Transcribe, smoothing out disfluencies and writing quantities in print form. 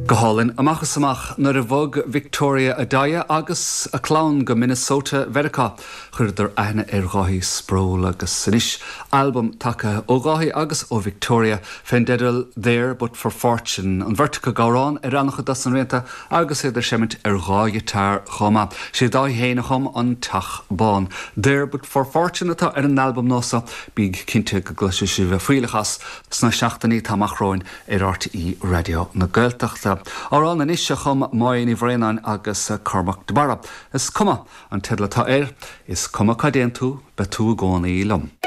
Go hálainn, amach is amach, nuair a bhog Victoria Addai agus a clann go Minnesota Mheiriceá, chuireadar aithne ar Dháithí Sproule agus anois albam tagtha ó Dháithí agus ó Victoria fén dteideal There But For Fortune, an bheirt acu ag amhrán ar an-chuid dos na rianta agus iad ag seimint ar dhá ghiotár chomh maith. Sé Dáithí féin a chum An Teach Bán. There But For Fortune atá ar an albam nua so, bígí cinnte go gcloisfidh sibh fuílleach as sna seachtainí atá amach romhainn ar RTÉ Raidió na Gaeltachta. Amhrán anois a chum Máire Ní Bhraonáin agus Cormac de Barra. Is cuma an teideal atá air, is cuma cá dtéann tú, beidh tú i gcónaí liom.